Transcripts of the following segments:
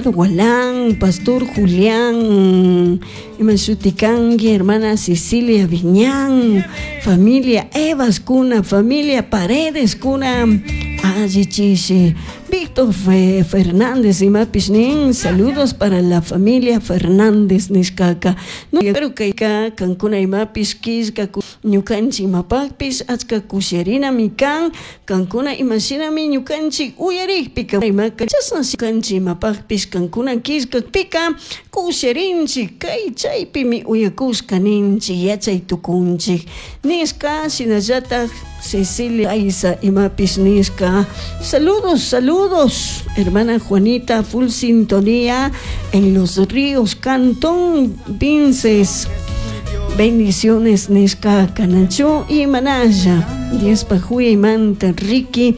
Gualán, Pastor Julián, ima shuti kanki, hermana Cecilia Viñán, familia Evas kuna, familia Paredes kuna, alli chishi. Víctor Fernández imapish nin, saludos para la familia Fernández nishkaka. Pero kayka kankuna imapish killka ñukanchik imapakpish achka kushiyarinami kan, kankuna imashinami ñukanchik uyarikpika imaka chashna ñukanchik imapakpish kankuna killkakpika kushiyarinchik, kay chaypimi uyakushka ninchik yachay tukunchik nishka. Shinallatak Cecilia Aiza imapish nishka, saludos, saludos, hermana Juanita, full sintonía en Los Ríos, Cantón Vinces. Bendiciones nishka kanachu y manalla. Diospa huyaymanta Ricky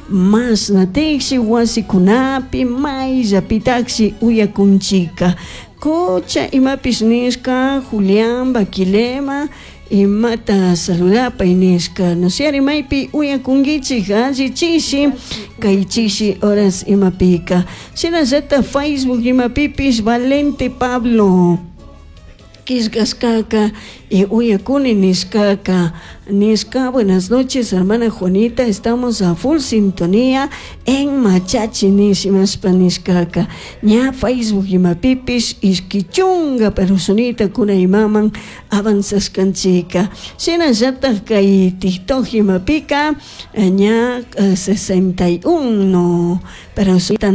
masna tiksi wasikunapi mayllapitaksi uyakunchika. Cocha imapish nishka Julián Baquilema imata saludapay nishka. No sé, maypi uyakunkichik alli chishi kay chishi horas imapika. Shinallata Facebook imapipish Valente Pablo killkashkaka y uyakuni nishkaka nishka. Buenas noches, hermana Juanita, estamos a full sintonía en Machachi nishimashpa nishkaka. Ña Facebook imapipish ishki chunga personita kuna imaman avanzashkanchika. Shinallatak kay TikTok imapika ña 61 personita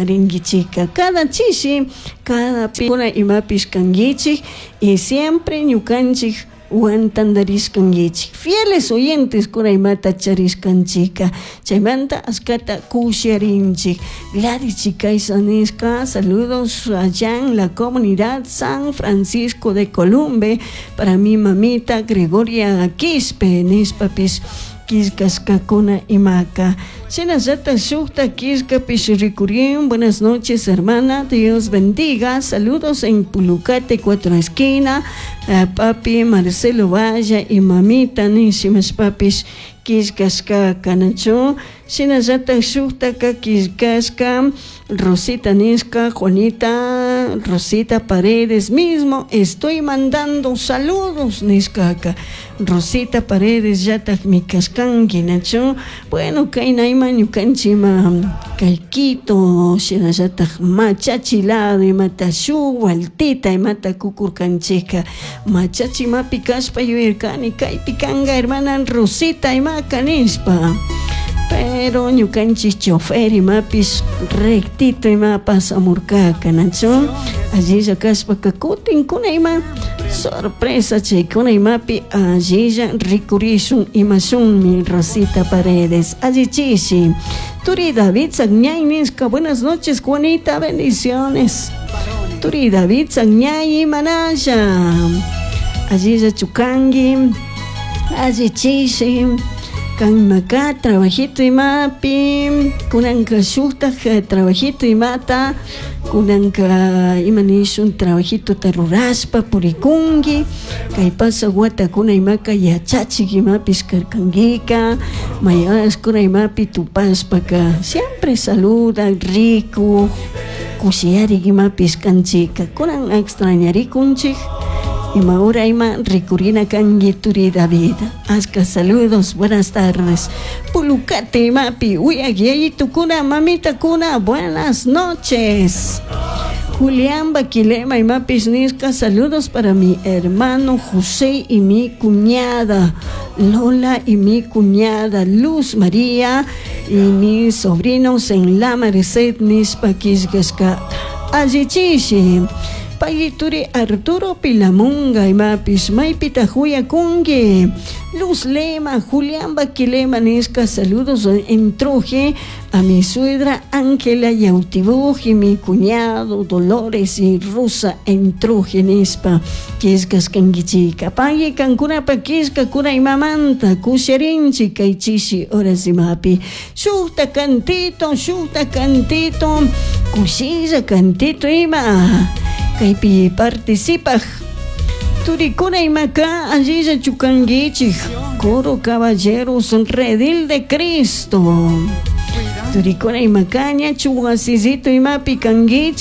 rinkichika. Cada chishi, cada kuna imapish kankichik y siempre ñukanchik wan tantarishkankichik. Fieles oyentes kuna imata charishkanchika. Chaymanta ashkata kushiyarinchik. Gladys Chicaiza nishka, saludos allá en la comunidad San Francisco de Columbe para mi mamita Gregoria Quispe nishpapish killkashkakuna imaka. Shinallata shukta killkapish rikurin. Buenas noches, hermana, Dios bendiga. Saludos en Pulucate, Cuatro Esquina, papi Marcelo Valla y mamita nishimashpapish killkashka kanachu. Shinallata shuktaka killkashka Rosita nishka, Juanita Rosita Paredes mismo, estoy mandando saludos nishkaka. Rosita Paredes llatakmi kashkanki nachu. Bueno, kaynayma ñukanchikma kay Quito shinallatak Machachi lado imata shuk vueltita imata kukurkanchika. Machachi imapi kashpa yuyarkani kaypi kanka hermana Rosita imaka nishpa. Pero ñukanchik chofer imapish rectito ima pasamurkaka nachu. Allilla kashpaka kutin kuna ima sorpresa chaykuna imapi allilla rikurishun imashunmi Rosita Paredes. Allichishi. Turi David Sagñay nishka, buenas noches, Juanita, bendiciones. Turi David Sagñay manalla. Allilla chukangi, allichishi. Kanmaka trabajito imapi, kunanka shuktak trabajito imata, kunanka ima nishun trabajito rurashpa purikunki, kay pasa watakuna imaka yachachik imapish karkankika, mayashkuna imapi tupashpaka siempre saluda, rico, kushiyarik imapish kanchika, kunan extrañarikunchik. Ima hora ima rikurina kanki turi David. Ashka saludos, buenas tardes. Pulucate imapi, uyak yayitukuna, mamita kuna, buenas noches. Julián Baquilema imapis nishka, saludos para mi hermano José y mi cuñada Lola y mi cuñada Luz María y mis sobrinos en la Merced nishpa killkashka. Allichishi. Payituri Arturo Pilamunga imapis maypita huyakunki. Luz Lema, Julián Baquilema nishka, saludos en Truje a mi suegra Ángela Yautibuj y mi cuñado Dolores y Rosa en Truje nishpa killkashkankichika. Payi kankunapa killkakuna imamanta kusharinchik kay chishi horas imapi. Shukta cantito, shukta cantito, kushilla cantito ima. Kaypi participaj turikuna imaka allilla chukankichik. Coro Caballeros Redil de Cristo. Turikuna imakañachu wasillito imapi kankichik.